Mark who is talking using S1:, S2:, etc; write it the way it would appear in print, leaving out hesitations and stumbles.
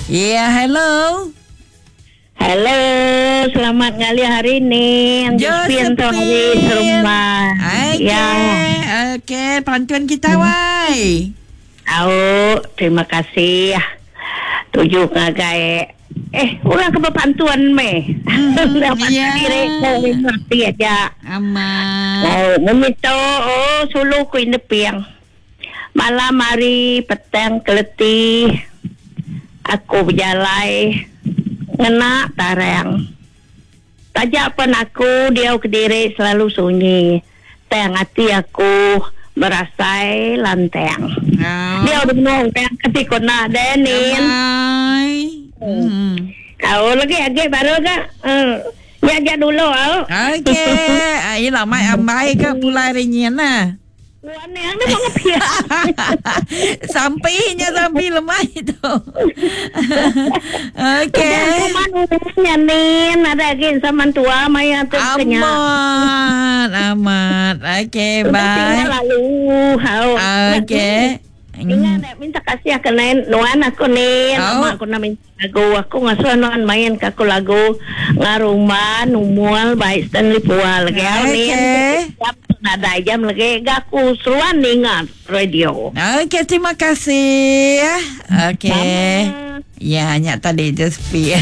S1: Ya, hello.
S2: Hello, selamat ngalih hari ni.
S1: Josephine
S2: tu hari serumah.
S1: Okey.
S2: Ya.
S1: Okey, pantun kita wai.
S2: Au, terima kasih. Tuju ngagai eh orang ke berpantun meh. Dapat
S1: ya.
S2: diri ko ngerti aja.
S1: Amat.
S2: Oh, memito oh sulu ku indepiang. Malam hari petang keleti aku berjalai ngena tarang. Tajak pun aku diau kediri selalu sunyi. Tang ati aku berasai lantang.
S1: Oh.
S2: Dia udah menung tang kati kona denin.
S1: Amai. Hmm.
S2: Kau lagi agi baru ke? Ya aja dulu au.
S1: Okey, ai lama ambai ke pulai rinyin lah.
S2: Wan yang ni mau ngepia.
S1: Sampinya sampi lemah itu. Okey.
S2: Kuman nin ada lagi sama tua maya tu kenya.
S1: Amat, amat. Okey,
S2: Udah
S1: bye.
S2: tinggal lalu. Hau.
S1: Okey.
S2: Ingat nak minta kasih aku nain nuan aku ni
S1: Oh.
S2: Mak aku nak minta lagu aku ngasuh nuan main ke aku lagu ngarumban umual baik Stanley Pual lagi
S1: Okey.
S2: ni jam nada jam lagi gak aku seruan ingat radio.
S1: Okey, terima kasih. Okey.
S2: Sama.
S1: Ya, hanya tadi je sepi.